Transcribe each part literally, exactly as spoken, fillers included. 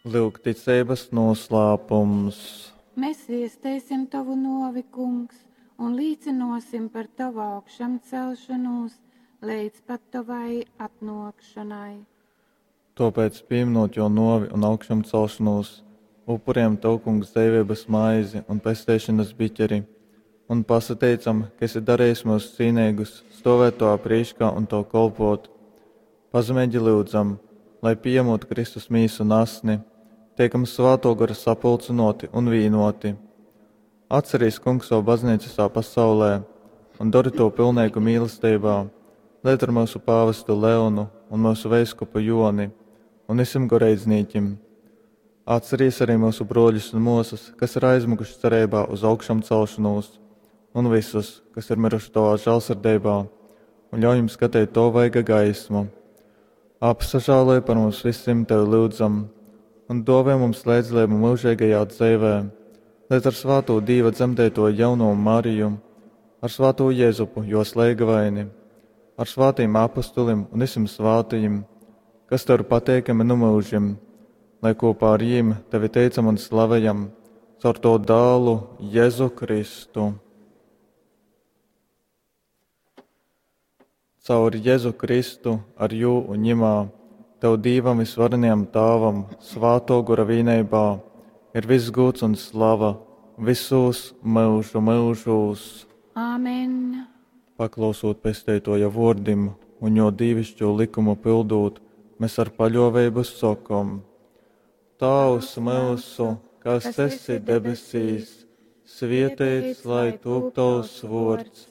Lyuk ticeibas noslēpums. Mēs viesteisim Tovu novi, Kungs, un līcinosim par Tavu augšamcelšanos leidz pat Tavai atnōkšanai. Tōpēc, pieminot jo novi un augšamcelšanos, upurējam Tev, Kungs, dzeiveibas maizi un pesteišanas biķeri, un pasateicam, ka esi darījis mūs cīnīgus stovēt Tavā prīškā un Tev kolpot. Pazemeigi lyudzam, lai pieņemot Kristus mīsu un asni, tiekam Svāto Gara sapulcinoti un vīnoti. Atcerīs, Kungs, savu baznīcu visā pasaulē un dari to pilnīgu mīlestībā, lai ar mūsu pāvestu Leonu un mūsu veiskupu Joni un visiem goreidznīķim. Atcerīs arī mūsu broļus un mūsas, kas ir aizmukuši cerībā uz augšām celšanos, un visus, kas ir miruši Tavā žēlsirdībā, un ļauj jums skatīt to vaiga gaismu. Apsažāloj par mums visiem Tevi lūdzam, un dāvā mums līdzdalību mūžīgajā dzīvē, lai ar svāto Dīva dzemdēto jauno Mariju, ar svāto Jēzupu, jo slēgavaini, ar svātiem apustulim un visiem svātajiem, kas Tev ir pateikami nu mūžim, lai kopā ar jiem Tevi teicam un slavējam caur to dālu Jēzu Kristu. Caur Jēzu Kristu, ar jū un ņimā, Tev Dīvam visvarenajam Tāvam, svāto gora vīneibā, ir viss gūts un slava visos mūžu mūžos. Āmen. Paklausot pesteitoja vordim un jo dīvišķo likumu pildūt, mēs ar paļoveibu sokom: Tavs mūsu, kas esi debesīs, svietēts lai tūp tavs vords,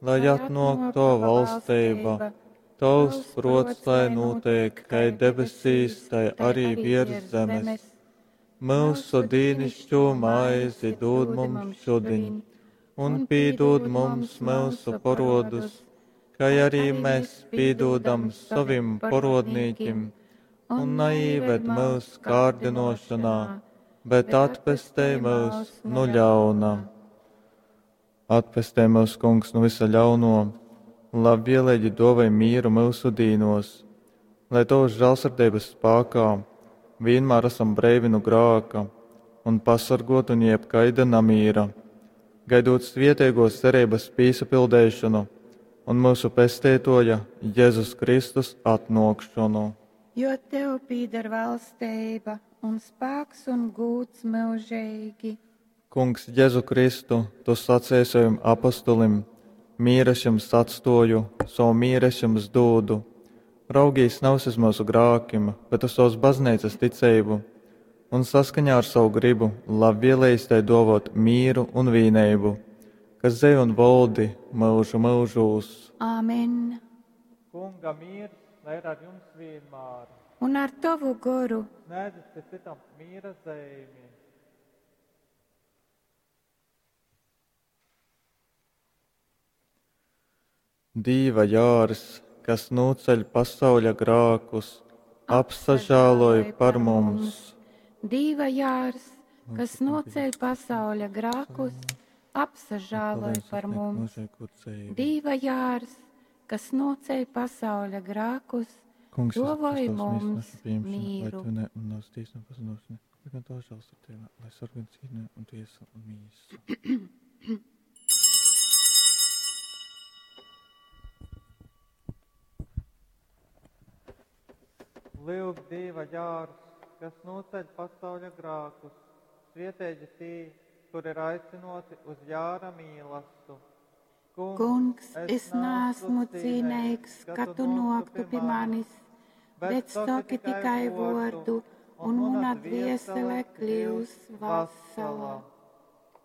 lai atnāk tava valstība, tavs prots lai notiek, kai debesīs, tai arī virs zemes. Mūsu dīnišķo maizi dod mums šodien, un pīdod mums mūsu porodus, kai arī mēs pīdodam savim porodnīkim, un neīved mūs kārdinošanā, bet atpestē mūs no ļauna. Atpestē mūs, Kungs, no visa ļauno, un labvēlīgi dovai mīru mūsu dīnos, lai Tavas žēlsirdības spēkā vienmēr esam breivi no grāka un pasargot un jebkaida namīra, gaidot svietēgos cerības pīsapildēšanu un mūsu pestētoja Jēzus Kristus atnokšanu. Jo Tev pīder valstība un spēks un gūts mūžīgi. Kungs, Jēzu Kristu, Tu sacīji saviem apustulim: mīres jums atstoju, savu mīres jums dūdu. Raugīs nav uz mūsu grākim, bet uz savas baznīcas ticību, un saskaņā ar savu gribu labvēlējis tai dovot mīru un vīneibu, kas dzēj un valdi mūžu mūžūs. Āmen. Kunga miers, lai ir ar jums vienmēr. Un ar tavu goru. Sniedzat citam mīra zīmi. Dīva jārs, kas nūceļ pasauļa grākus, apsažāloj par mums. Dīva jārs, kas noceļ pasauļa grākus, apsažāloj par mums. Dīva jārs, kas noceļ pasauļa grākus, dovoj mums mīru. Lai sargā cīņā un tiesa un mīsu. Lūk, Dieva jārs, kas noceļ pasauļa grākus, svietēģi tī, kur ir aicinoti uz jāra mīlastu. Kungs, Kungs, es neesmu cīnīgs, ka tu noktu pie manis, bet saki tikai vordu, un mana dviesele kļūs vasala.